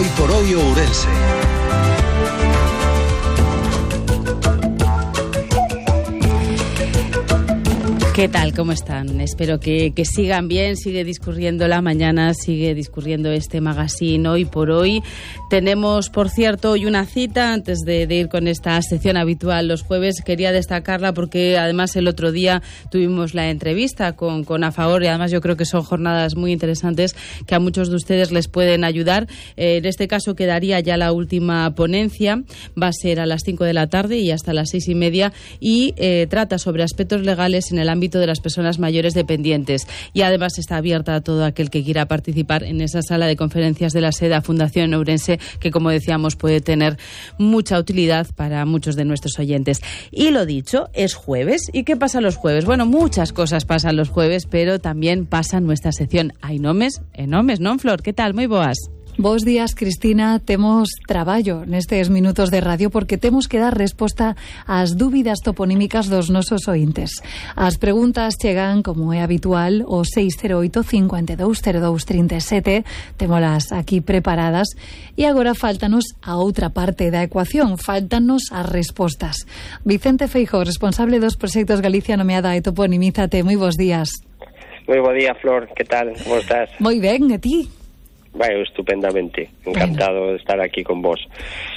Hoy por hoy Ourense. ¿Qué tal? ¿Cómo están? Espero que sigan bien. Sigue discurriendo la mañana, sigue discurriendo este magazine Hoy por Hoy. Tenemos, por cierto, hoy una cita antes de ir con esta sección habitual los jueves. Quería destacarla porque además el otro día tuvimos la entrevista con AFAOR y además yo creo que son jornadas muy interesantes que a muchos de ustedes les pueden ayudar. En este caso quedaría ya la última ponencia. Va a ser a las 5 de la tarde y hasta las 6:30 y trata sobre aspectos legales en el ámbito de las personas mayores dependientes y además está abierta a todo aquel que quiera participar en esa sala de conferencias de la SEDA Fundación Ourense, que como decíamos puede tener mucha utilidad para muchos de nuestros oyentes. Y lo dicho, es jueves. ¿Y qué pasa los jueves? Bueno, muchas cosas pasan los jueves, pero también pasa nuestra sección Hai nomes e nomes, non, Flor? Que tal? Moi boas. Bos días, Cristina. Temos traballo nestes minutos de radio porque temos que dar resposta ás dúbidas toponímicas dos nosos ointes. As preguntas chegan, como é habitual, o 608 52 02 37. Témolas aquí preparadas e agora faltanos a outra parte da ecuación. Faltanos as respostas. Vicente Feijóo, responsable dos proxectos Galicia Nomeada e Toponimízate. Moi bons días. Moi bo día, Flor. Que tal? Como estás? Moi ben, e ti? Vai, estupendamente. Encantado de estar aquí con vos.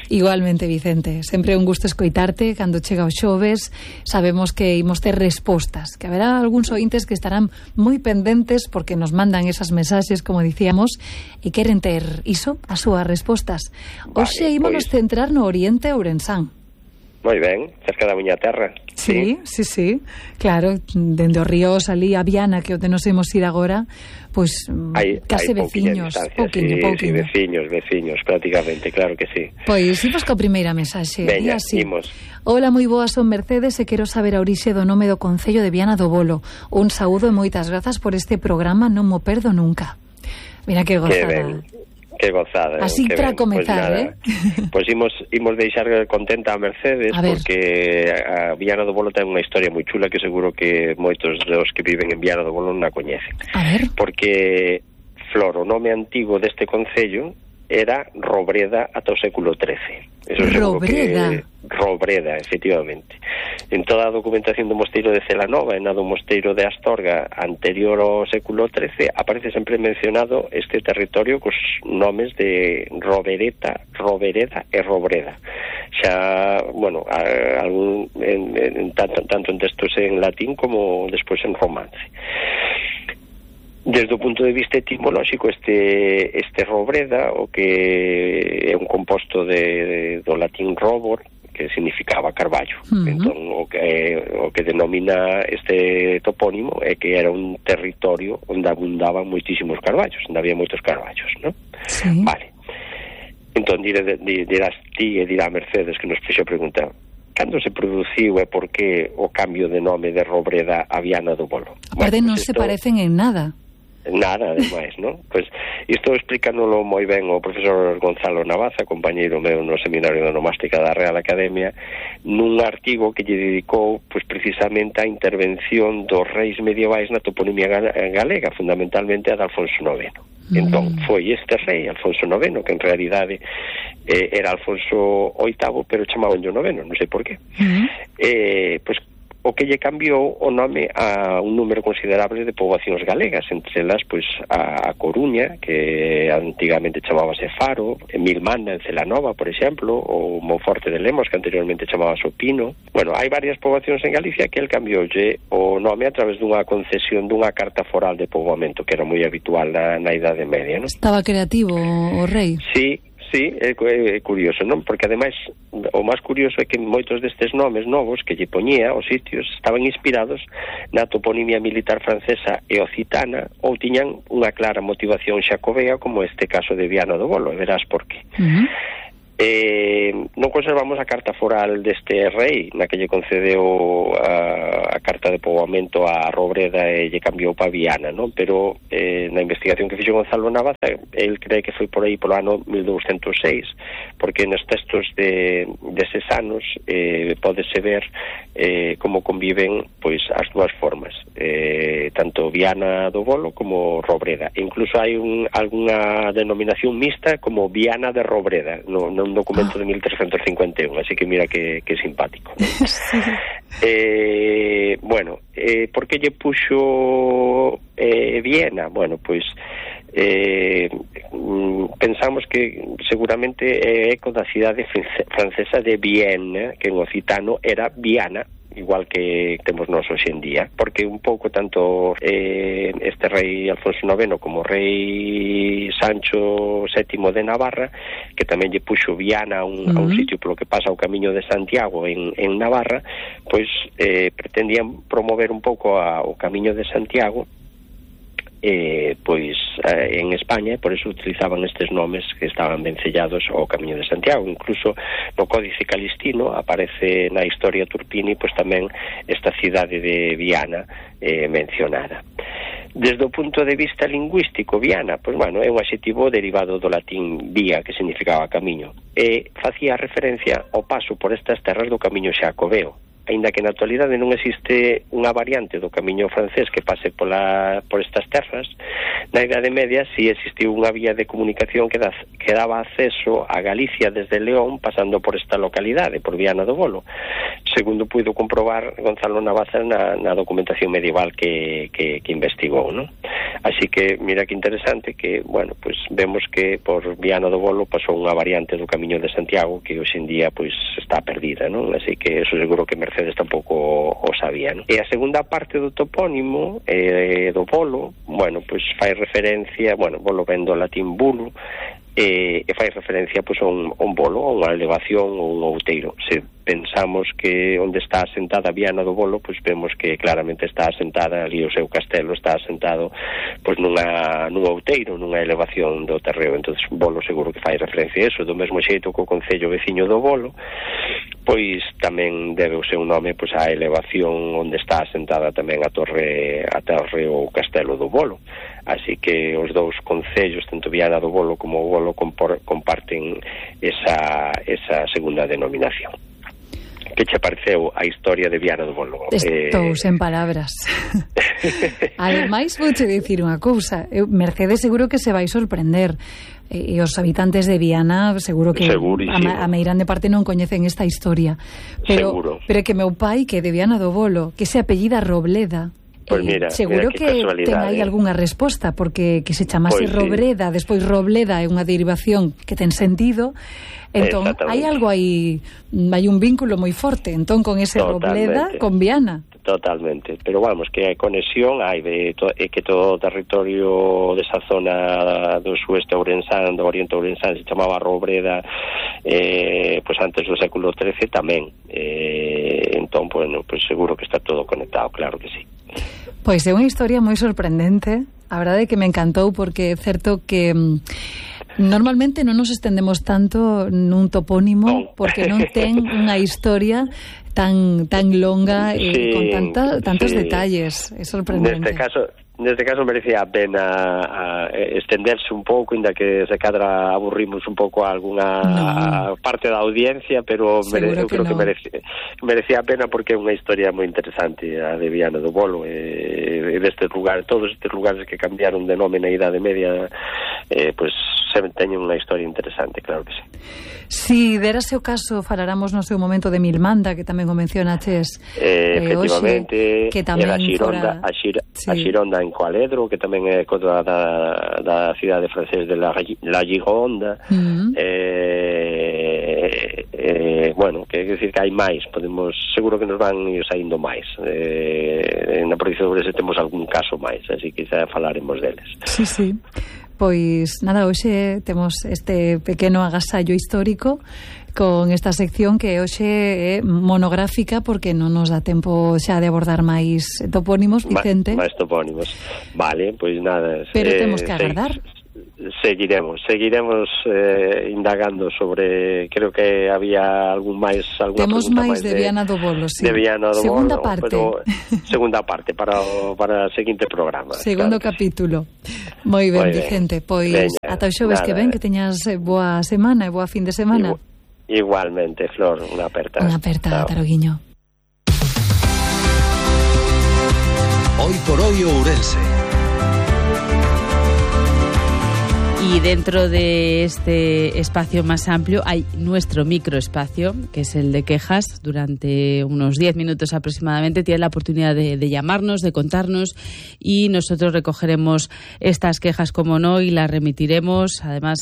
Igualmente, Vicente. Sempre un gusto escoitarte cando chega o xoves. Sabemos que imos ter respostas, que haberá algúns ointes que estarán moi pendentes porque nos mandan esas mensaxes, como dicíamos, e queren ter iso, as súas respostas. Hoxe ímonos centrar no Oriente Ourensán. Moi ben, cerca da miña terra. Sí. Claro, dende o río salí a Viana, que onde nos imos ir agora, pois case veciños. Pouquiño, veciños, prácticamente, claro que sí. Pois imos coa primeira mensaxe. Veña, imos. Hola, moi boas, son Mercedes e quero saber a orixe do nome do concello de Viana do Bolo. Un saúdo e moitas grazas por este programa, non mo perdo nunca. Mira que gozada. Que gozada. Así para comezar, Pois imos deixar contenta a Mercedes porque a Viana do Bolo ten unha historia moi chula que seguro que moitos dos que viven en Viana do Bolo non a coñecen. A ver. Porque, Flor, o nome antigo deste concello era Robreda ata o século XIII. Robreda, efectivamente. En toda a documentación do mosteiro de Celanova e na do mosteiro de Astorga anterior ao século XIII aparece sempre mencionado este territorio cos nomes de Robereda e Robreda. Xa, bueno, tanto en textos en latín como despois en romance. Desde o punto de vista etimolóxico, este Robreda, o que é un composto do latín robor, que significaba carballo. Entón, o que denomina este topónimo é que era un territorio onde abundaban moitísimos carballos, onde había moitos carballos, non? Sí. Vale. Entón, dirás ti e dirá Mercedes que nos fixo preguntar cando se produciu e por que o cambio de nome de Robreda a Viana do Bolo. Aparte, non se parecen en nada. Nada, ademais, non? Pois isto explícanolo moi ben o profesor Gonzalo Navaza, compañeiro meu no Seminario de Onomástica da Real Academia, nun artigo que lle dedicou pois precisamente á intervención dos reis medievais na toponimia galega, fundamentalmente a de Alfonso IX. Entón, foi este rei, Alfonso IX, que en realidade era Alfonso VIII, pero chamaban yo noveno, non sei por qué. Pois o que lle cambiou o nome a un número considerable de poboacións galegas, entre elas pois a Coruña, que antigamente chamábase Faro, Milmana en Celanova, por exemplo, ou Monforte de Lemos, que anteriormente chamábase Pino. Bueno, hai varias poboacións en Galicia que el cambioulle o nome a través dunha concesión dunha carta foral de poboamento, que era moi habitual na Idade Media, non? Estaba creativo o rei. Sí, é curioso, non? Porque ademais o máis curioso é que moitos destes nomes novos que lle poñía os sitios estaban inspirados na toponimia militar francesa e occitana ou tiñan unha clara motivación xacobea, como este caso de Viana do Bolo, e verás por qué. Non conservamos a carta foral deste rei, na que lle concedeu a carta de poboamento a Robreda e lle cambiou pa Viana, non? Pero na investigación que fixo Gonzalo Navaza, el cree que foi por aí polo ano 1206, porque nos textos deses anos pódese ver como conviven pois as dúas formas, tanto Viana do Bolo como Robreda. Incluso hai algunha denominación mixta como Viana de Robreda, nun documento de 1351, así que mira que simpático. Bueno, por que lle puxo Viena? Bueno, pois pensamos que seguramente é eco da cidade francesa de Vienne, que en occitano era Viana, igual que temos nós hoxe en día, porque un pouco tanto este rei Alfonso IX como o rei Sancho VII de Navarra, que tamén lle puxo Viana a un sitio polo que pasa o Camiño de Santiago en Navarra, pois pretendían promover un pouco o Camiño de Santiago pois en España, por eso utilizaban estes nomes que estaban vencellados ao Camiño de Santiago. Incluso no Códice Calistino aparece na Historia Turpini pois tamén esta cidade de Viana mencionada. Desde o punto de vista lingüístico, Viana, pois bueno, é un adxetivo derivado do latín vía, que significaba camiño, e facía referencia ao paso por estas terras do Camiño Xacobeo. Aínda que na actualidade non existe unha variante do camiño francés que pase por estas terras, na Idade Media si existiu unha vía de comunicación que daba acceso a Galicia desde León pasando por esta localidade, por Viana do Bolo, segundo puido comprobar Gonzalo Navaza na documentación medieval que investigou, non? Así que mira que interesante que, bueno, pues vemos que por Viana do Bolo pasou unha variante do Camiño de Santiago que hoxe en día pues está perdida, non? Así que eso seguro que Mercedes tampouco o sabía, non? E a segunda parte do topónimo do Bolo, bueno, pues fai referencia, bueno, Bolo ven do latín bulo, e fai referencia pois a un bolo, a unha elevación ou un outeiro. Se pensamos que onde está asentada Viana do Bolo, pois vemos que claramente está asentada ali o seu castelo, está asentado pois nun outeiro, nunha elevación do terreo. Entonces Bolo seguro que fai referencia a eso, do mesmo xeito que o concello veciño do Bolo pois tamén debe o seu nome pois á elevación onde está asentada tamén a torre ou castelo do Bolo. Así que os dous concellos, tanto Viana do Bolo como o Bolo, comparten esa segunda denominación. Que che pareceu a historia de Viana do Bolo? Estou sen palabras. Ademais, vouche dicir unha cousa, Mercedes seguro que se vai sorprender, e os habitantes de Viana seguro que a meirande parte non coñecen esta historia, pero que meu pai, que é de Viana do Bolo, que se apellida Robleda, pues mira, seguro que ten aí algunha resposta, porque que se chamase Robreda, despois Robleda é unha derivación que ten sentido. Entón, hai algo aí, hai un vínculo moi forte, entón, con ese Robleda, con Viana. Totalmente, pero vamos, que hai conexión, hai que todo o territorio desa zona do sueste ourensán, do oriente ourensán, se chamaba Robreda, pois antes do século XIII tamén. Entón, bueno, pois seguro que está todo conectado, claro que sí. Pois é unha historia moi sorprendente, a verdade é que me encantou, porque é certo que normalmente non nos estendemos tanto nun topónimo, porque non ten unha historia tan longa e con tantos detalles. É sorprendente. Neste caso merecía a pena estenderse un pouco, inda que se cadra aburrimos un pouco a alguna parte da audiencia, pero eu creo que merecía a pena, porque é unha historia moi interesante a de Viana do Bolo, e destes lugares, todos estes lugares que cambiaron de nome na Idade Media, pois teñen unha historia interesante, claro que sí. Si derase o caso, falaramos no seu momento de Milmanda, que tamén o mencionaches, efectivamente, que tamén a Xironda en Coaledro, que tamén é da cidade francés de la Gironda. Bueno, que decir que hai máis, seguro que nos van ir saindo máis. Na provincia de Ourense temos algún caso máis, así que xa falaremos deles. Sí. Pois nada, hoxe temos este pequeno agasallo histórico con esta sección que hoxe é monográfica, porque non nos dá tempo xa de abordar máis topónimos, Vicente. Máis topónimos. Vale, pois nada. Pero temos que agardar. seguiremos indagando sobre, creo que había alguna temos máis de Viana do Bolo, sí. De Viana do segunda Bolo, parte. pero segunda parte para o seguinte programa. Segundo capítulo. Moi ben, Vicente, pois ata o xoves que ven, que teñas boa semana e boa fin de semana. Igualmente, Flor, unha aperta. Unha aperta, Taroguiño. Hoy por hoy Ourense. Y dentro de este espacio más amplio hay nuestro microespacio, que es el de quejas. Durante unos 10 minutos aproximadamente tienes la oportunidad de llamarnos, de contarnos, y nosotros recogeremos estas quejas, como no, y las remitiremos. Además,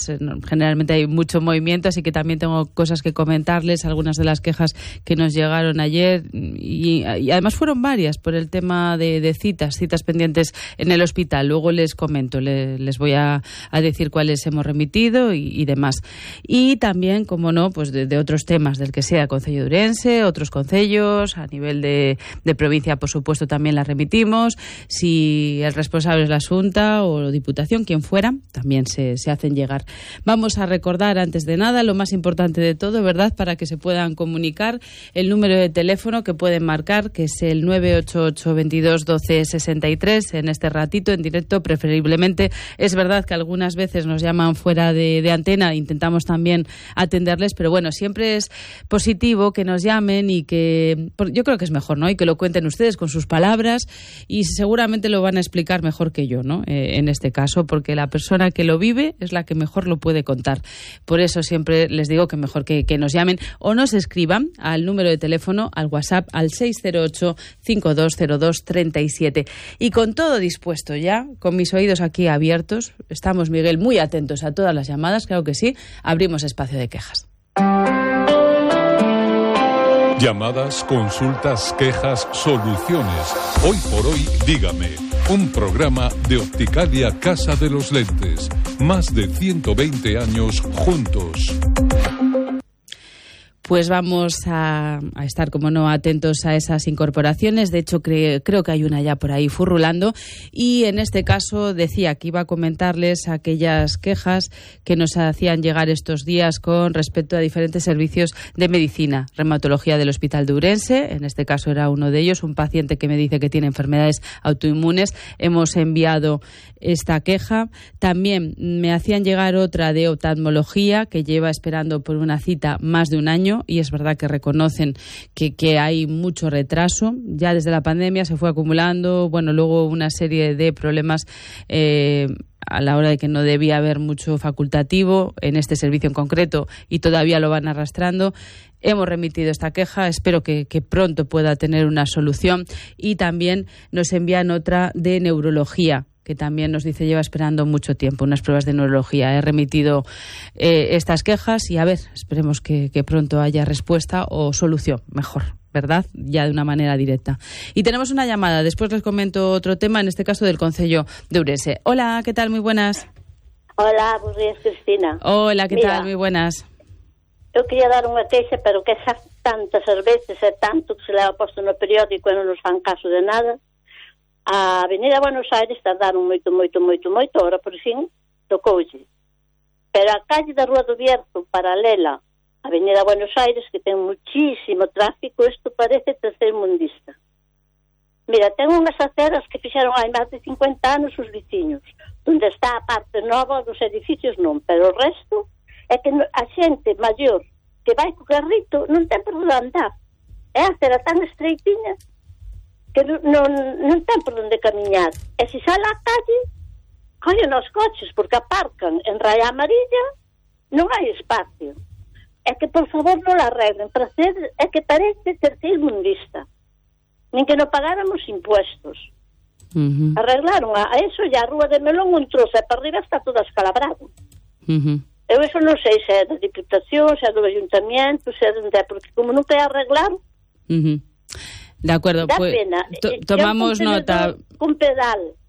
generalmente hay mucho movimiento, así que también tengo cosas que comentarles, algunas de las quejas que nos llegaron ayer, y además fueron varias por el tema de citas pendientes en el hospital. Luego les comento, les voy a decir cuáles hemos remitido y demás. Y también, como no, pues de otros temas, del que sea Concello de Ourense, otros concellos, a nivel de provincia, por supuesto, también las remitimos. Si el responsable es la Xunta o Diputación, quien fuera, también se hacen llegar. Vamos a recordar, antes de nada, lo más importante de todo, ¿verdad?, para que se puedan comunicar, el número de teléfono que pueden marcar, que es el 988 22 12 63, en este ratito, en directo, preferiblemente. Es verdad que algunas veces nos llaman fuera de antena, intentamos también atenderles, pero bueno, siempre es positivo que nos llamen y que, yo creo que es mejor, ¿no?, y que lo cuenten ustedes con sus palabras, y seguramente lo van a explicar mejor que yo, ¿no?, en este caso, porque la persona que lo vive es la que mejor lo puede contar. Por eso siempre les digo que mejor que nos llamen o nos escriban al número de teléfono, al WhatsApp, al 608 5202 37. Y con todo dispuesto ya, con mis oídos aquí abiertos, estamos, Miguel, muy atentos a todas las llamadas, claro que sí, abrimos espacio de quejas. Llamadas, consultas, quejas, soluciones. Hoy por hoy, dígame. Un programa de Opticalia Casa de los Lentes. Más de 120 años juntos. Pues vamos a estar, como no, atentos a esas incorporaciones. De hecho, creo que hay una ya por ahí furrulando. Y en este caso decía que iba a comentarles aquellas quejas que nos hacían llegar estos días con respecto a diferentes servicios de medicina. Reumatología del Hospital de Ourense, en este caso era uno de ellos, un paciente que me dice que tiene enfermedades autoinmunes. Hemos enviado esta queja. También me hacían llegar otra de oftalmología, que lleva esperando por una cita más de un año. Y es verdad que reconocen que hay mucho retraso. Ya desde la pandemia se fue acumulando, bueno, luego una serie de problemas a la hora de que no debía haber mucho facultativo en este servicio en concreto, y todavía lo van arrastrando. Hemos remitido esta queja, espero que pronto pueda tener una solución. Y también nos envían otra de neurología, que también nos dice lleva esperando mucho tiempo unas pruebas de neurología. He remitido estas quejas y a ver, esperemos que pronto haya respuesta o solución, mejor, ¿verdad?, ya de una manera directa. Y tenemos una llamada, después les comento otro tema, en este caso del Concello de Ourense. Hola, ¿qué tal? Muy buenas. Hola, buenos días, Cristina. Hola, ¿qué tal? Muy buenas. Eu quería dar unha queixa, pero que xa tantas veces e tanto que se leva posto no periódico e non nos fan caso de nada. A Avenida Buenos Aires tardaron moito, ahora por fin tocoulle. Pero a calle da Rúa do Bierzo, paralela a Avenida Buenos Aires, que ten muchísimo tráfico, isto parece tercermundista. Mira, ten unhas aceras que fixeron hai máis de 50 anos os veciños, onde está a parte nova dos edificios non, pero o resto é que a xente maior que vai co carrito non ten por onde andar. É a acera tan estreitiña que non ten por onde camiñar. E se sale á calle, collen os coches, porque aparcan en raya amarilla, non hai espacio. É que, por favor, non la arreglen. É que parece tercermundista. Nin que non pagáramos impuestos. Arreglaron a eso, e a Rúa de Melón un trozo, e para arriba está todo escalabrado. Eu eso non sei se é da Diputación, se é do Ayuntamiento, se é de onde é, porque como non quer arreglar... De acuerdo, da pues pena. Tomamos nota. Un pedal.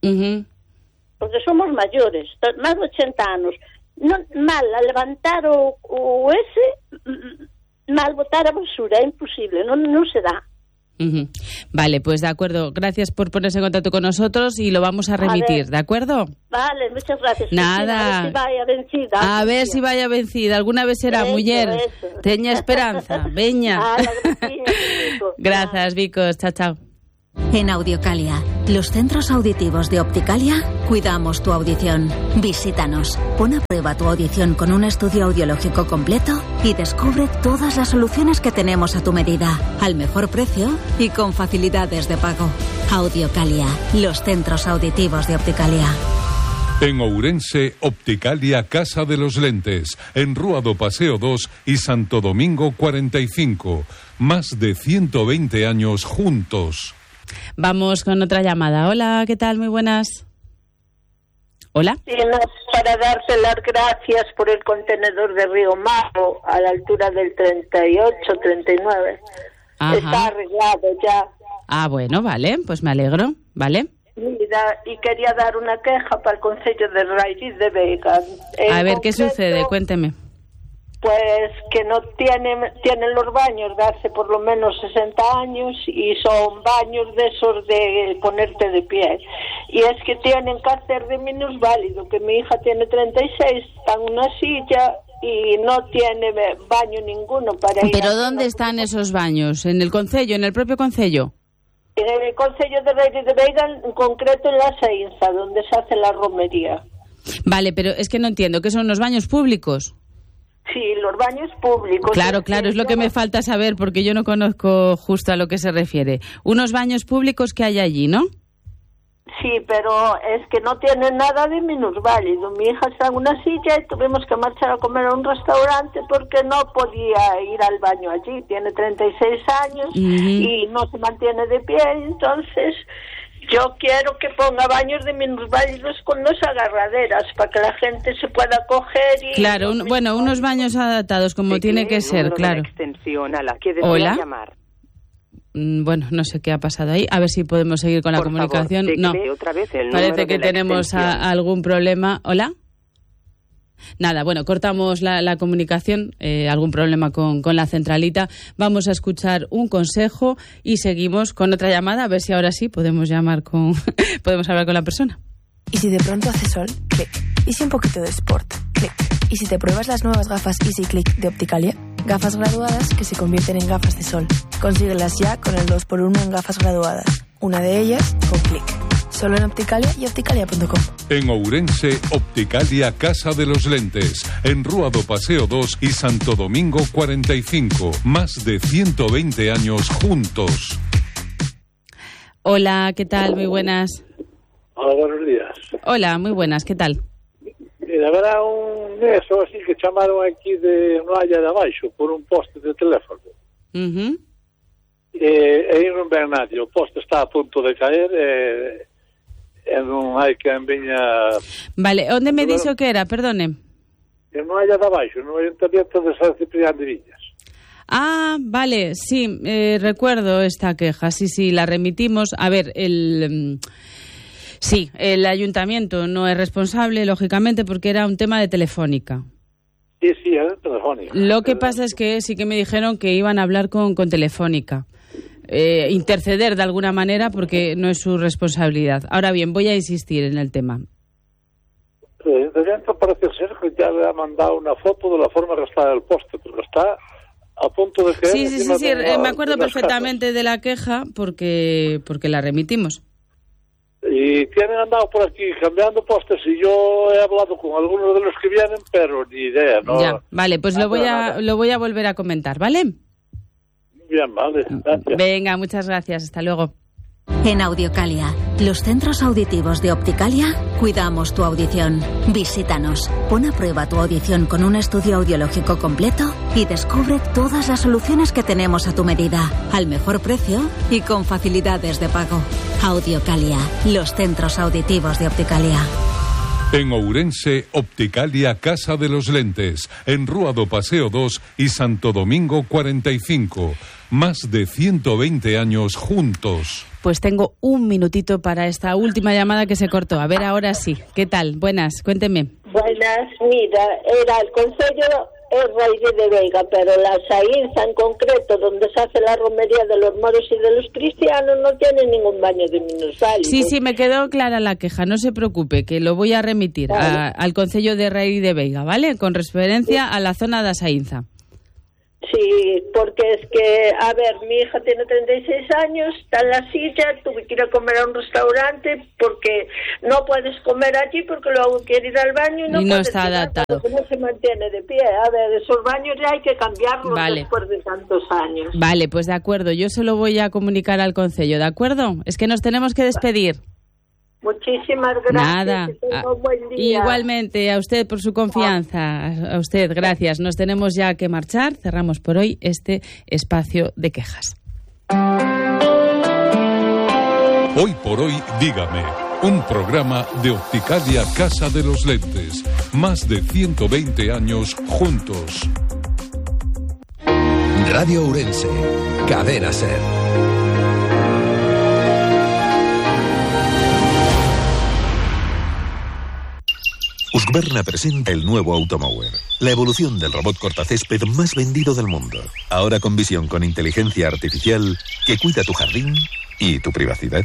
Porque somos maiores, máis de 80 anos. Non, mal a levantar o ese, mal botar a basura, é imposible, non se dá. Vale, pues de acuerdo. Gracias por ponerse en contacto con nosotros y lo vamos a remitir, ¿de acuerdo? Vale, muchas gracias. Nada. A ver si vaya vencida. A ver si vaya vencida. Alguna vez será, muller. Teña esperanza. Veña. Gracias, Vicos. Chao, chao. En Audiocalia, los centros auditivos de Opticalia, cuidamos tu audición. Visítanos, pon a prueba tu audición con un estudio audiológico completo y descubre todas las soluciones que tenemos a tu medida, al mejor precio y con facilidades de pago. Audiocalia, los centros auditivos de Opticalia. En Ourense, Opticalia Casa de los Lentes, en Rúa do Paseo 2 y Santo Domingo 45. Más de 120 años juntos. Vamos con otra llamada. Hola, ¿qué tal? Muy buenas. Hola. Sí, para darse las gracias por el contenedor de Río Mago a la altura del 38, 39. Ajá. Está arreglado ya. Ah, bueno, vale, pues me alegro, ¿vale? Mira, y quería dar una queja para el Concello de Raíz de Vega. A ver, ¿qué sucede? Cuénteme. Pues que no tienen los baños de hace por lo menos 60 años y son baños de esos de ponerte de pie. Y es que tienen que hacer de minusválido, que mi hija tiene 36, está en una silla y no tiene baño ninguno para ir. ¿Pero dónde están esos baños? ¿En el concello, en el propio concello? En el Concello de Raíz de Vega, en concreto en la Seinza, donde se hace la romería. Vale, pero es que no entiendo, ¿qué son los baños públicos? Sí, los baños públicos. Claro, es lo que me falta saber porque yo no conozco justo a lo que se refiere. Unos baños públicos que hay allí, ¿no? Sí, pero es que no tiene nada de minusválido. Mi hija está en una silla y tuvimos que marchar a comer a un restaurante porque no podía ir al baño allí. Tiene 36 años y no se mantiene de pie, entonces yo quiero que ponga baños de minusválidos con dos agarraderas para que la gente se pueda coger y... Claro, unos baños adaptados como tiene que ser, claro. Hola. Bueno, no sé qué ha pasado ahí. A ver si podemos seguir con la comunicación. No, parece que tenemos algún problema. ¿Hola? Nada, bueno, cortamos la comunicación, algún problema con la centralita. Vamos a escuchar un consejo y seguimos con otra llamada, a ver si ahora sí podemos podemos hablar con la persona. ¿Y si de pronto hace sol? Clic. ¿Y si un poquito de sport? Clic. ¿Y si te pruebas las nuevas gafas Easy Click de Opticalia? Gafas graduadas que se convierten en gafas de sol. Consíguelas ya con el 2x1 en gafas graduadas. Una de ellas con Clic. Solo en Opticalia y opticalia.com. En Ourense, Opticalia Casa de los Lentes, en Rúa do Paseo 2 y Santo Domingo 45. Más de 120 años juntos. Hola, ¿qué tal? Muy buenas. Hola, buenos días. Hola, muy buenas, ¿qué tal? Mira, habrá un eso así que chamaron aquí de Noalla de Abaixo por un poste de teléfono. E non ven nadie, o poste está a punto de caer e non hai que viña... Vale, onde me dixo que era, perdone? En Noalla de Abaixo, no Ayuntamiento de San Ciprián de Viñas. Ah, vale, sí, recuerdo esta queja, sí, la remitimos. A ver, sí, el ayuntamiento no es responsable, lógicamente, porque era un tema de Telefónica. Sí, era Telefónica. Lo que pasa es que sí que me dijeron que iban a hablar con Telefónica. Interceder de alguna manera porque no es su responsabilidad. Ahora bien, voy a insistir en el tema. De dentro parece ser que ya le ha mandado una foto de la forma que está el poste, porque está a punto de caer. Sí, me acuerdo perfectamente de la queja porque la remitimos. Y tienen andado por aquí cambiando postes y yo he hablado con algunos de los que vienen, pero ni idea, ¿no? Ya, vale, pues lo voy a volver a comentar, ¿vale? Bien, vale, gracias. Venga, muchas gracias, hasta luego. En Audiocalia, los centros auditivos de Opticalia, cuidamos tu audición. Visítanos, pon a prueba tu audición con un estudio audiológico completo y descubre todas las soluciones que tenemos a tu medida, al mejor precio y con facilidades de pago. Audiocalia, los centros auditivos de Opticalia. En Ourense, Opticalia Casa de los Lentes, en Rúa do Paseo 2 y Santo Domingo 45. Más de 120 años juntos. Pues tengo un minutito para esta última llamada que se cortó. A ver, ahora sí. ¿Qué tal? Buenas, cuénteme. Buenas, mira, era el Concello es Raíz de Veiga, pero la Saínza en concreto, donde se hace la romería de los moros y de los cristianos, no tiene ningún baño de minusválidos. Sí, me quedó clara la queja, no se preocupe, que lo voy a remitir al Concello de Raíz de Veiga, ¿vale? Con referencia a la zona de Saínza. Sí, porque es que, a ver, mi hija tiene 36 años, está en la silla, tuve que ir a comer a un restaurante porque no puedes comer allí porque luego quiere ir al baño y no está adaptado. Porque no se mantiene de pie. A ver, esos baños ya hay que cambiarlos después de tantos años. Vale, pues de acuerdo, yo se lo voy a comunicar al concello, ¿de acuerdo? Es que nos tenemos que despedir. Muchísimas gracias. Nada. Que tenga un buen día. Igualmente, a usted por su confianza. A usted, gracias. Nos tenemos ya que marchar. Cerramos por hoy este espacio de quejas. Hoy por hoy, dígame. Un programa de Opticalia Casa de los Lentes. Más de 120 años juntos. Radio Ourense. Cadena SER. Husqvarna presenta el nuevo Automower, la evolución del robot cortacésped más vendido del mundo. Ahora con visión con inteligencia artificial que cuida tu jardín y tu privacidad.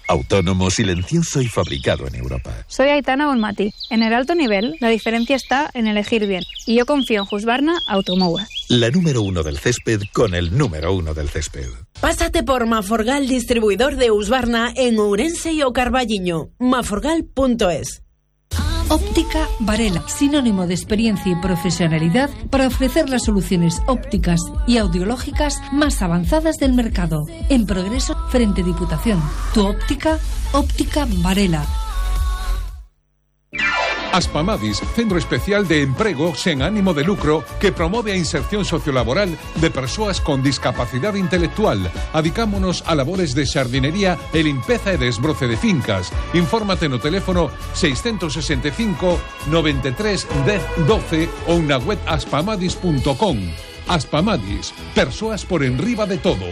Autónomo, silencioso y fabricado en Europa. Soy Aitana Bonmati. En el alto nivel, la diferencia está en elegir bien. Y yo confío en Husqvarna Automower. La número 1 del césped con el número 1 del césped. Pásate por Maforgal, distribuidor de Husqvarna en Ourense y O Carballiño. maforgal.es. Óptica Varela, sinónimo de experiencia y profesionalidad para ofrecer las soluciones ópticas y audiológicas más avanzadas del mercado. En progreso frente Diputación. Tu óptica, Óptica Varela. Aspamadis, centro especial de emprego sen ánimo de lucro que promove a inserción sociolaboral de persoas con discapacidade intelectual. Adicámonos a labores de xardinería e limpeza e desbroce de fincas. Infórmate no teléfono 665 93 10 12 ou na web aspamadis.com. Aspamadis, persoas por enriba de todo.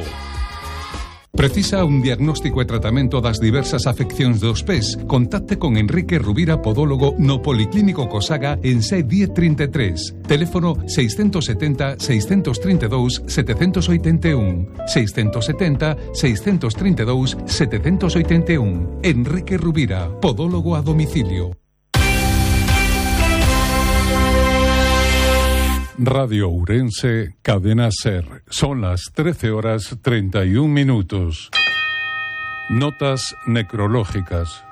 Precisa un diagnóstico e tratamento das diversas afeccións dos pés? Contacte con Enrique Rubira, podólogo no Policlínico Cosaga en C1033. Teléfono 670 632 781. 670 632 781. Enrique Rubira, podólogo a domicilio. Radio Ourense, Cadena SER. Son las 13:31. Notas necrológicas.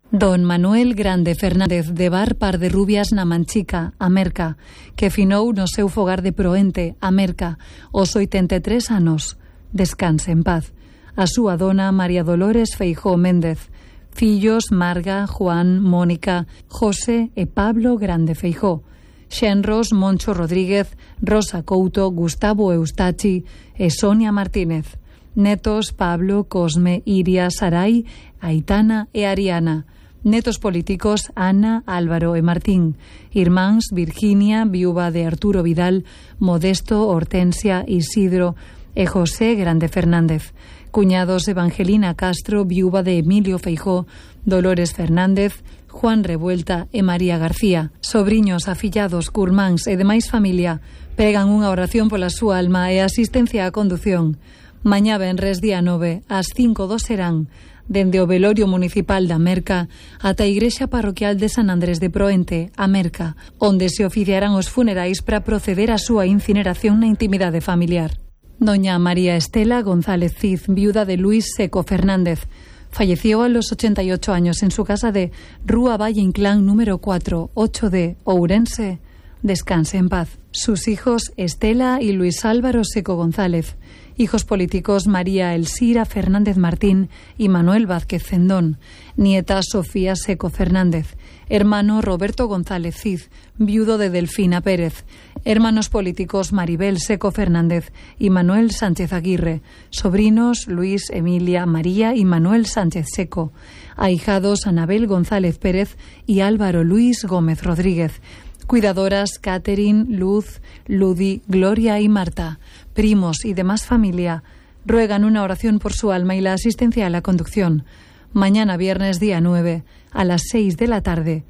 Don Manuel Grande Fernández de Bar Par de Rubias na Manchica, Amerca, que finou no seu fogar de Proente, Amerca, aos 83 anos. Descanse en paz. A súa dona María Dolores Feijóo Méndez. Fillos Marga, Juan, Mónica, José e Pablo Grande Feijóo. Xenros Moncho Rodríguez, Rosa Couto, Gustavo Eustachi e Sonia Martínez. Netos Pablo, Cosme, Iria, Sarai, Aitana e Ariana. Netos políticos Ana, Álvaro e Martín. Irmáns Virginia, viúva de Arturo Vidal, Modesto, Hortensia, Isidro e José Grande Fernández. Cuñados Evangelina Castro, viúva de Emilio Feijóo, Dolores Fernández, Juan Revuelta e María García. Sobriños, afillados, curmáns e demais familia pregan unha oración pola súa alma e asistencia á condución. Mañá venres día 9 ás 5 serán dende o velorio municipal da Merca ata a igrexa parroquial de San Andrés de Proente, a Merca, onde se oficiarán os funerais para proceder á súa incineración na intimidade familiar. Doña María Estela González Cid, viuda de Luis Seco Fernández, falleció a los 88 años en su casa de Rúa Valle Inclán número 4, 8D, Ourense. Descanse en paz. Sus hijos Estela y Luis Álvaro Seco González. Hijos políticos María Elcira Fernández Martín y Manuel Vázquez Cendón. Nieta Sofía Seco Fernández. Hermano Roberto González Cid, viudo de Delfina Pérez. Hermanos políticos Maribel Seco Fernández y Manuel Sánchez Aguirre. Sobrinos Luis, Emilia, María y Manuel Sánchez Seco. Ahijados Anabel González Pérez y Álvaro Luis Gómez Rodríguez. Cuidadoras Catherine, Luz, Ludi, Gloria y Marta. Primos y demás familia ruegan una oración por su alma y la asistencia a la conducción. Mañana viernes día 9 a las 6 de la tarde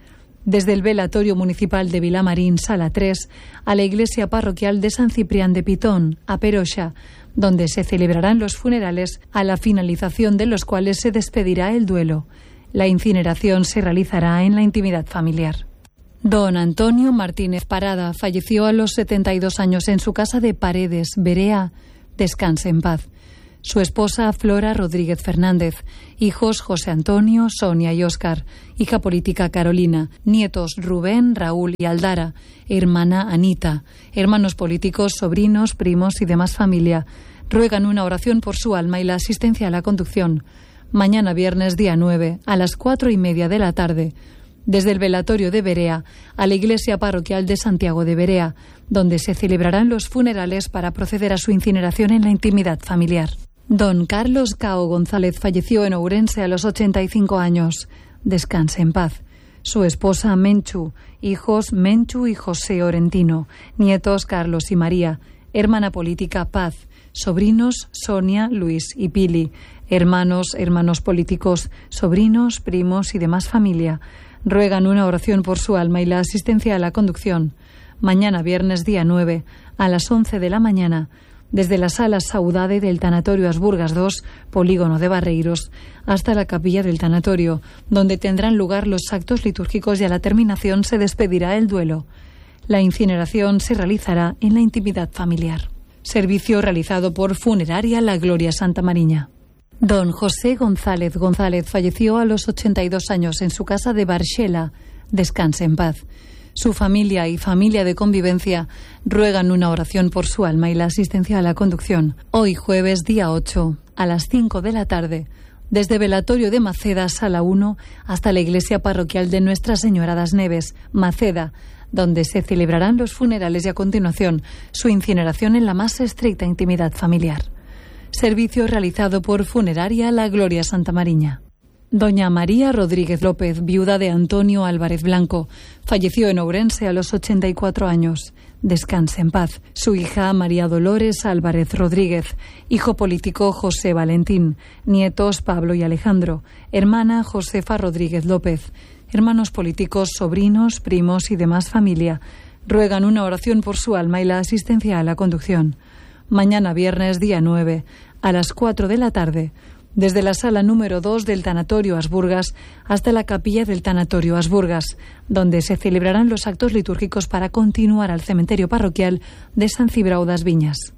Desde el velatorio municipal de Vilamarín, Sala 3, a la iglesia parroquial de San Ciprián de Pitón, a Peroxa, donde se celebrarán los funerales, a la finalización de los cuales se despedirá el duelo. La incineración se realizará en la intimidad familiar. Don Antonio Martínez Parada falleció a los 72 años en su casa de Paredes, Berea. Descanse en paz. Su esposa Flora Rodríguez Fernández, hijos José Antonio, Sonia y Óscar, hija política Carolina, nietos Rubén, Raúl y Aldara, hermana Anita, hermanos políticos, sobrinos, primos y demás familia. Ruegan una oración por su alma y la asistencia a la conducción. Mañana viernes día 9, a las 4:30 de la tarde, desde el velatorio de Berea a la iglesia parroquial de Santiago de Berea, donde se celebrarán los funerales para proceder a su incineración en la intimidad familiar. Don Carlos Cao González falleció en Ourense a los 85 años. Descanse en paz. Su esposa Menchu, hijos Menchu y José Orentino, nietos Carlos y María, hermana política Paz, sobrinos Sonia, Luis y Pili, hermanos políticos, sobrinos, primos y demás familia. Ruegan una oración por su alma y la asistencia a la conducción. Mañana viernes día 9, a las 11 de la mañana, desde la sala Saudade del Tanatorio Asburgas 2, Polígono de Barreiros, hasta la capilla del tanatorio, donde tendrán lugar los actos litúrgicos y a la terminación se despedirá el duelo. La incineración se realizará en la intimidad familiar. Servicio realizado por Funeraria La Gloria Santa Mariña. Don José González falleció a los 82 años en su casa de Barxela. Descanse en paz. Su familia y familia de convivencia ruegan una oración por su alma y la asistencia a la conducción. Hoy jueves día 8, a las 5 de la tarde, desde velatorio de Maceda, Sala 1, hasta la iglesia parroquial de Nuestra Señora das Neves, Maceda, donde se celebrarán los funerales y a continuación su incineración en la más estricta intimidad familiar. Servicio realizado por Funeraria La Gloria Santa Mariña. Doña María Rodríguez López, viuda de Antonio Álvarez Blanco, falleció en Ourense a los 84 años. Descanse en paz. Su hija María Dolores Álvarez Rodríguez, hijo político José Valentín, nietos Pablo y Alejandro, hermana Josefa Rodríguez López, hermanos políticos, sobrinos, primos y demás familia. Ruegan una oración por su alma y la asistencia a la conducción. Mañana viernes día 9, a las 4 de la tarde, desde la sala número 2 del Tanatorio Asburgas hasta la capilla del Tanatorio Asburgas, donde se celebrarán los actos litúrgicos para continuar al cementerio parroquial de San Cibrao das Viñas.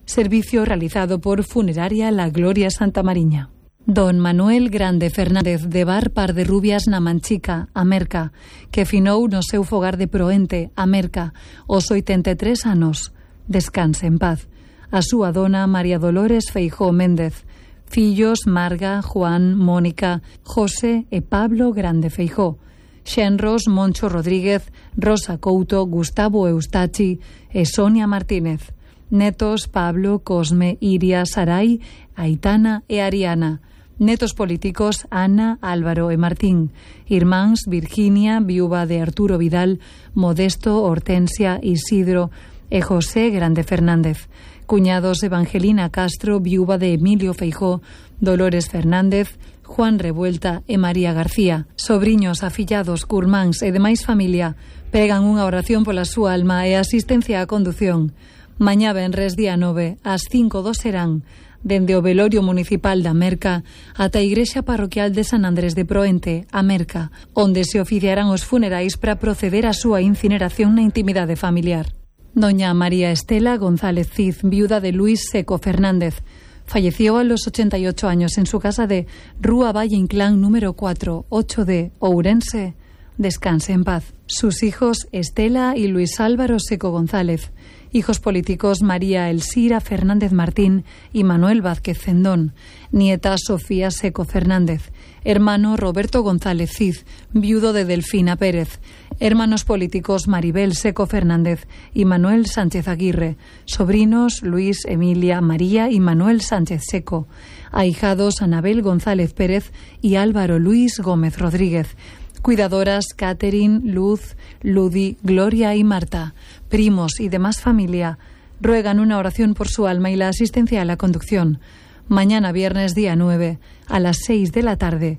Servicio realizado por Funeraria La Gloria Santa Mariña. Don Manuel Grande Fernández de Bar Par de Rubias na Manchica, Amerca, que finou no seu fogar de Proente, Amerca, aos 83 anos. Descanse en paz. A súa dona María Dolores Feijóo Méndez, fillos Marga, Juan, Mónica, José e Pablo Grande Feijóo, xenros Moncho Rodríguez, Rosa Couto, Gustavo Eustachi e Sonia Martínez, netos Pablo, Cosme, Iria, Sarai, Aitana e Ariana, netos políticos Ana, Álvaro e Martín, irmáns Virginia, viúva de Arturo Vidal, Modesto, Hortensia, Isidro e José Grande Fernández, cuñados Evangelina Castro, viúva de Emilio Feijóo, Dolores Fernández, Juan Revuelta e María García, sobriños, afillados, curmáns e demais familia, pregan unha oración pola súa alma e asistencia á condución. Mañá venres día 9, ás 5 do serán, dende o velorio municipal da Merca ata a igrexa parroquial de San Andrés de Proente, a Merca, onde se oficiarán os funerais para proceder á súa incineración na intimidade familiar. Doña María Estela González Cid, viuda de Luis Seco Fernández, falleció a los 88 años en su casa de Rúa Valle Inclán número 4, 8D, Ourense. Descanse en paz. Sus hijos Estela y Luis Álvaro Seco González, hijos políticos María Elsira Fernández Martín y Manuel Vázquez Cendón, nieta Sofía Seco Fernández, hermano Roberto González Cid, viudo de Delfina Pérez, hermanos políticos Maribel Seco Fernández y Manuel Sánchez Aguirre, sobrinos Luis, Emilia, María y Manuel Sánchez Seco, ahijados Anabel González Pérez y Álvaro Luis Gómez Rodríguez, cuidadoras Catherine, Luz, Ludi, Gloria y Marta, primos y demás familia, ruegan una oración por su alma y la asistencia a la conducción. Mañana viernes día 9, a las 6 de la tarde,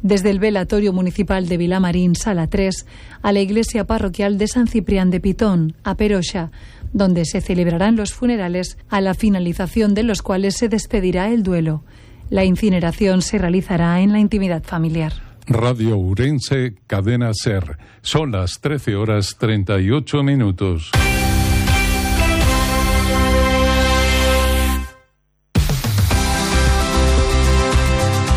Desde el velatorio municipal de Vilamarín, Sala 3, a la iglesia parroquial de San Ciprián de Pitón, a Peroxa, donde se celebrarán los funerales, a la finalización de los cuales se despedirá el duelo. La incineración se realizará en la intimidad familiar. Radio Ourense, Cadena SER. Son las 13:38.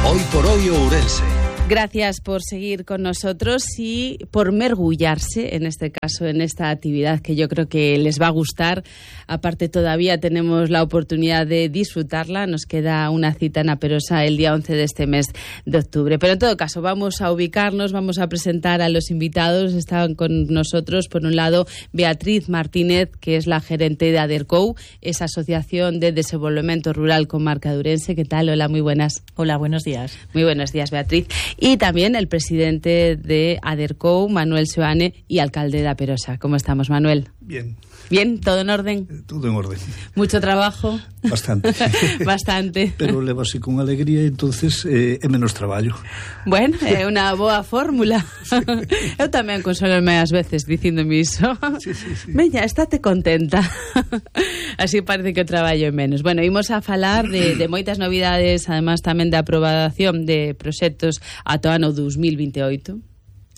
Hoy por hoy Ourense. Gracias por seguir con nosotros y por mergullarse, en este caso, en esta actividad que yo creo que les va a gustar. Aparte, todavía tenemos la oportunidad de disfrutarla. Nos queda una cita en Aperosa el día 11 de este mes de octubre. Pero en todo caso, vamos a ubicarnos, vamos a presentar a los invitados. Están con nosotros, por un lado, Beatriz Martínez, que es la gerente de ADERCOU, esa Asociación de Desenvolvemento Rural Comarca de Ourense. ¿Qué tal? Hola, muy buenas. Hola, buenos días. Muy buenos días, Beatriz. Y también el presidente de ADERCOU, Manuel Seoane, y alcalde de Aperosa. ¿Cómo estamos, Manuel? Bien. ¿Bien? ¿Todo en orden? Todo en orden. ¿Mucho trabajo? Bastante. Bastante. Pero levase con alegría, entonces é menos traballo. Bueno, é unha boa fórmula. Sí. Eu tamén consolome ás veces dicíndome iso. Sí. Veña, estate contenta. Así parece que o traballo é menos. Bueno, imos a falar de moitas novidades, además tamén de aprobación de proxectos ata o ano 2028.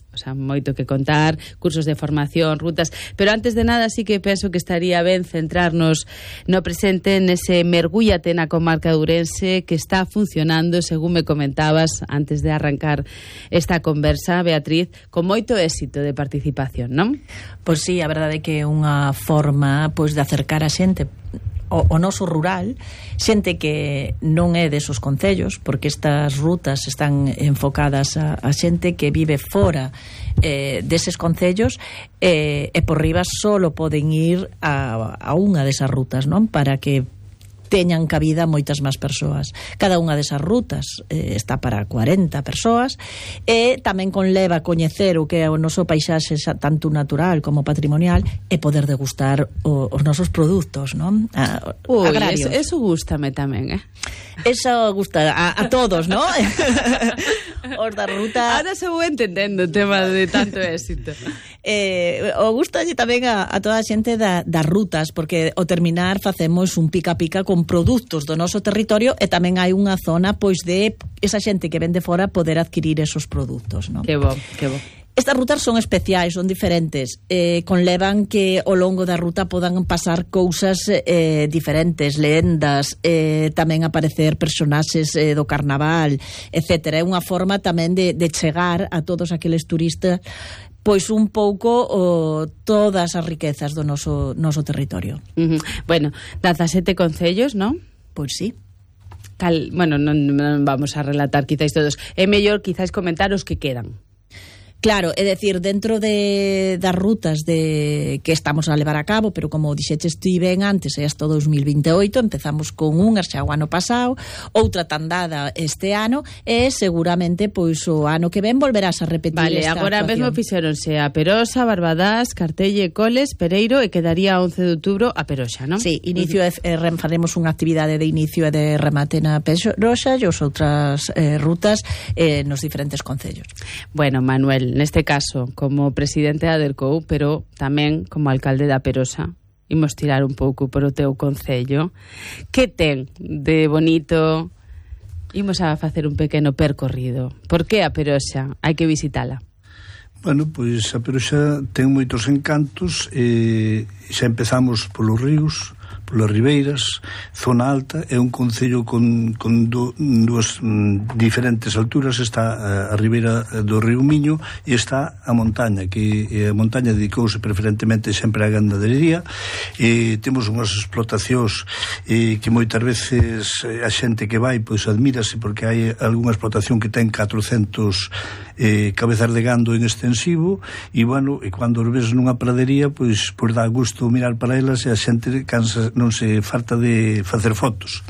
O sea, moito que contar, cursos de formación, rutas, pero antes de nada sí que penso que estaría ben centrarnos no presente, nese mergúllate na comarca de Ourense que está funcionando, según me comentabas antes de arrancar esta conversa, Beatriz, con moito éxito de participación, non? Pois sí, a verdade é que é unha forma pois de acercar a xente o noso rural, xente que non é desos concellos, porque estas rutas están enfocadas a xente que vive fora deses concellos, e por riba solo poden ir a unha desas rutas, non? Para que teñan cabida moitas máis persoas. Cada unha desas rutas está para 40 persoas e tamén conleva coñecer o que é o noso paisaxe tanto natural como patrimonial e poder degustar os nosos produtos, non? Agrarios. Eso gústame tamén, Eso gusta a todos, non? Os da ruta... Ahora se vou entendendo o tema de tanto éxito. O gusta tamén a toda a xente das rutas, porque ao terminar facemos un pica-pica con produtos do noso territorio e tamén hai unha zona pois de esa xente que ven de fora poder adquirir esos produtos, non? Que bo, que bo. Estas rutas son especiais, son diferentes, conlevan que ao longo da ruta podan pasar cousas diferentes, lendas, tamén aparecer personaxes do carnaval, etc. É unha forma tamén de chegar a todos aqueles turistas pois un pouco todas as riquezas do noso territorio. Bueno, 17 concellos, non? Pois sí. Bueno, non vamos a relatar quizáis todos. É mellor quizáis comentar os que quedan. Claro, é dicir, dentro das rutas que estamos a levar a cabo, pero como dixeches ti ben antes, é hasta 2028, empezamos con unha xa o ano pasado, outra tandada este ano, e seguramente pois o ano que ven volverás a repetir esta actuación. Vale, agora mesmo fixeronse a Perosa, Barbadás, Cartelle, Coles, Pereiro, e quedaría 11 de outubro a Perosa, non? Sí, inicio faremos unha actividade de inicio e de remate na Perosa e as outras rutas nos diferentes concellos. Bueno, Manuel, neste caso, como presidente da ADERCOU, pero tamén como alcalde da Perosa, imos tirar un pouco por o teu concello. Que ten de bonito? Imos a facer un pequeno percorrido. Por que a Perosa? Hai que visitala. Bueno, pois a Perosa ten moitos encantos, xa empezamos polos ríos, polas ribeiras, zona alta, é un concello con dúas diferentes alturas. Está a ribeira do río Miño e está a montaña, que a montaña dedicouse preferentemente sempre á gandadería, e temos unhas explotacións que moitas veces a xente que vai pois admírase, porque hai algunha explotación que ten 400 cabezas de gando en extensivo, e bueno, e cando os ves nunha pradería pois dá gusto mirar para elas, e a xente non se falta de facer fotos.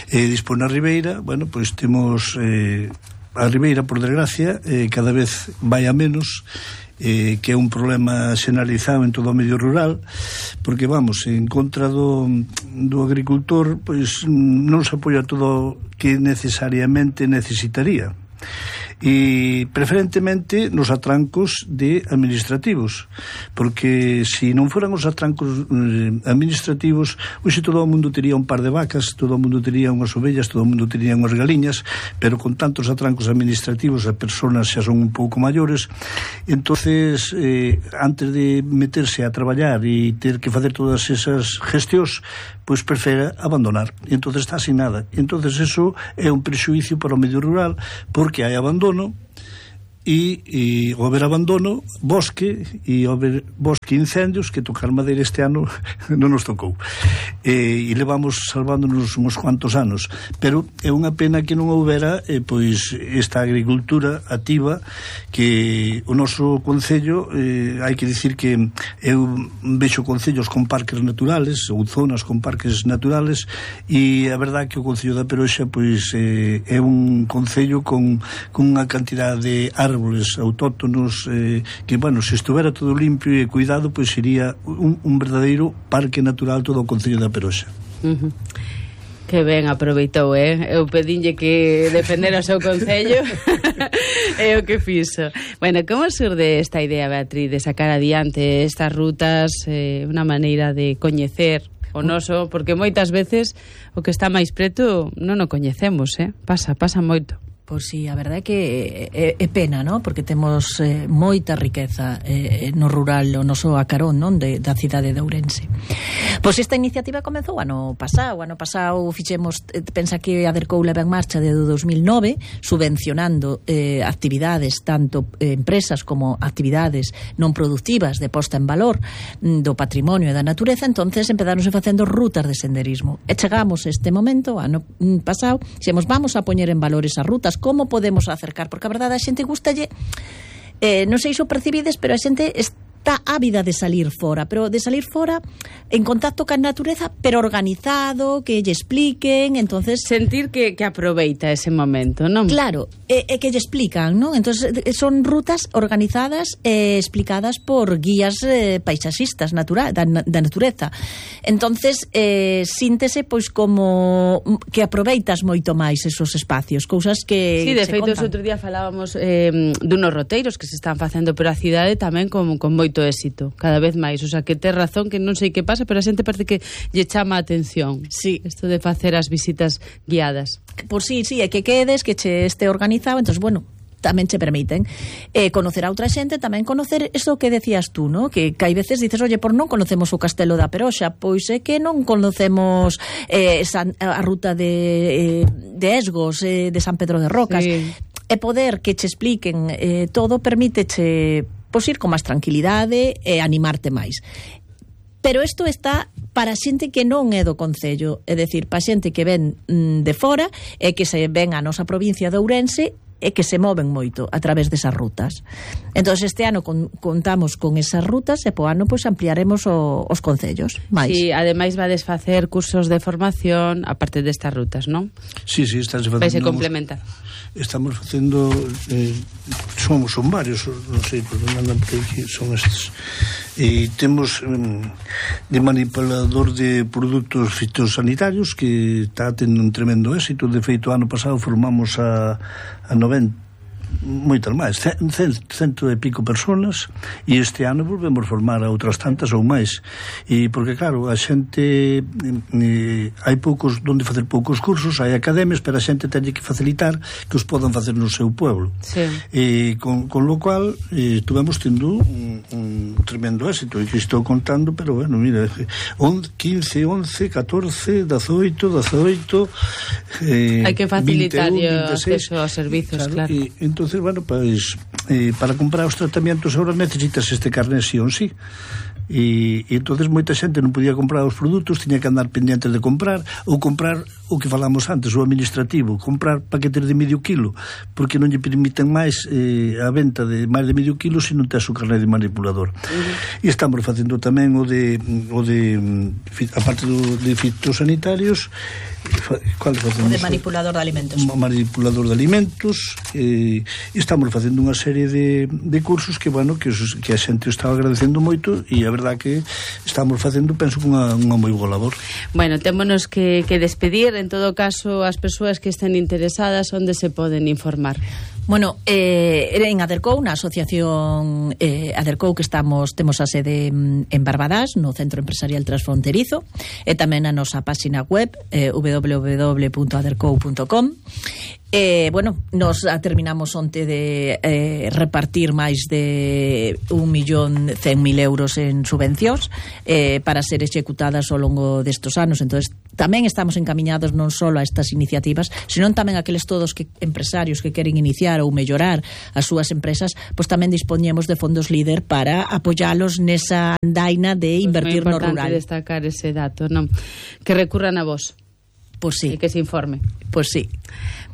Despois na ribeira, bueno, pois temos a ribeira, por desgracia, cada vez vai a menos, que é un problema xeneralizado en todo o medio rural, porque vamos, en contra do agricultor, pois non se apoia todo o que necesariamente necesitaría. e preferentemente nos atrancos de administrativos, porque se non foran os atrancos administrativos, hoxe todo o mundo tería un par de vacas, todo o mundo tería unhas ovellas, todo o mundo tería unhas galiñas, pero con tantos atrancos administrativos as persoas xa son un pouco maiores, entonces antes de meterse a traballar e ter que facer todas esas gestións, pois prefere abandonar, e entonces está sin nada. Entonces eso é un prexuicio para o medio rural, porque hai abandono, e ao haber abandono, bosque, e ao haber bosque incendios, que tocar madeira este ano non nos tocou, e levamos salvándonos uns cuantos anos, pero é unha pena que non houbera pois esta agricultura activa, que o noso concello, hai que dicir que eu vexo concellos con parques naturales ou zonas con parques naturales, e a verdade que o concello da Peroxa pois é un concello con unha cantidad de árboles autóctonos que, bueno, se estuvera todo limpio e cuidado, pois sería un verdadeiro parque natural todo o concello da Peroxa. Que ben aproveitou, eu pedinlle que defendera o seu concello é o que fixo. Bueno, como surde esta idea, Beatriz, de sacar adiante estas rutas, unha maneira de coñecer o noso, porque moitas veces o que está máis preto non o coñecemos, pasa moito. Pois sí, a verdade é que é pena, non? Porque temos moita riqueza no rural, o noso acarón, non? Da cidade de Ourense. Pois esta iniciativa comezou ano pasado fixemos, pensa que a Adercou leva en marcha desde 2009, subvencionando actividades, tanto empresas como actividades non productivas de posta en valor do patrimonio e da natureza. Entonces empezáronse facendo rutas de senderismo, e chegamos este momento, ano pasado, dixemos, vamos a poñer en valor esas rutas. Como podemos acercar? Porque a verdade a xente gustalle, non sei se o percibides, pero a xente está ávida de salir fora, pero de salir fora en contacto ca natureza, pero organizado, que lle expliquen, entonces sentir que aproveita ese momento, non? Claro, que lle explican, non? Entonces son rutas organizadas e explicadas por guías paisaxistas da natureza. Entonces síntese pois como que aproveitas moito máis esos espacios, cousas que sí, de feito, outro día falábamos dunos roteiros que se están facendo por a cidade tamén con moito éxito, cada vez máis, o sea, que tes razón, que non sei que pasa, pero a xente parece que lle chama a atención. Sí. Isto de facer as visitas guiadas. Pois sí, é que quedes, que che este organizado, entonces, bueno, tamén che permiten conocer a outra xente, tamén conocer eso que decías tú, ¿no? Que hai veces dices, oye, por non conocemos o Castelo da Peroxa, pois é que non conocemos a ruta de Esgos, de San Pedro de Rocas, sí. E poder que che expliquen todo permíteche pois ir con máis tranquilidade e animarte máis. Pero isto está para xente que non é do concello, é dicir, para xente que ven de fora e que se ven a nosa provincia de Ourense e que se moven moito a través desas rutas. Entón, este ano contamos con esas rutas e po ano pois ampliaremos os concellos máis. Sí, ademais vades facer cursos de formación aparte destas rutas, non? Sí, estás facendo. Vais a complementar. Estamos facendo son varios, non sei por onde andan por aquí, son estes, e temos de manipulador de produtos fitosanitarios, que está tendo un tremendo éxito. De feito, ano pasado formamos a 90 moitas máis, cento e pico personas, e este ano volvemos formar a outras tantas ou máis, e porque claro, a xente hai poucos donde facer poucos cursos, hai academias, pero a xente ten que facilitar que os podan facer no seu pueblo, sí. E con lo cual estuvemos tendo un tremendo éxito, e que estou contando, pero bueno, mira, 15, 11, 14, 18 hai que facilitar 21, 26, o acceso aos servizos, claro. E entonces, bueno, pues para comprar os tratamientos ahora necesitas este carné sí ou sí. E entonces moita xente non podía comprar os produtos, tiña que andar pendientes de comprar, ou comprar o que falamos antes, o administrativo, comprar paquetes de medio kilo, porque non lle permiten máis a venta de máis de medio kilo se non tes o carné de manipulador. E estamos facendo tamén o de aparte de fitosanitarios, o de manipulador de alimentos. Manipulador de alimentos, e estamos facendo unha serie de cursos que, bueno, que a xente está agradecendo moito, e a verdade que estamos facendo, penso, unha moi boa labor. Bueno, témonos que despedir. En todo caso, as persoas que estén interesadas, onde se poden informar? Bueno, en Adercou, na asociación Adercou, que temos a sede en Barbadás, no Centro Empresarial Transfronterizo, e tamén a nosa páxina web www.adercou.com. Bueno, nos terminamos onte de repartir máis de 1.100.000 euros en subvencións para ser executadas ao longo destes anos. Entonces, tamén estamos encamiñados non só a estas iniciativas, senón tamén aqueles todos empresarios que queren iniciar ou mellorar as súas empresas, pois tamén dispoñemos de fondos líder para apoialos nesa andaina de invertir no rural. É importante destacar ese dato, non? Que recurran a vos. Pois sí. E que se informe. Pois sí.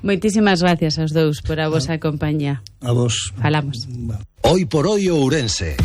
Moitísimas gracias aos dous por a vosa compañía. A vos. Falamos. Hoy por hoy Ourense.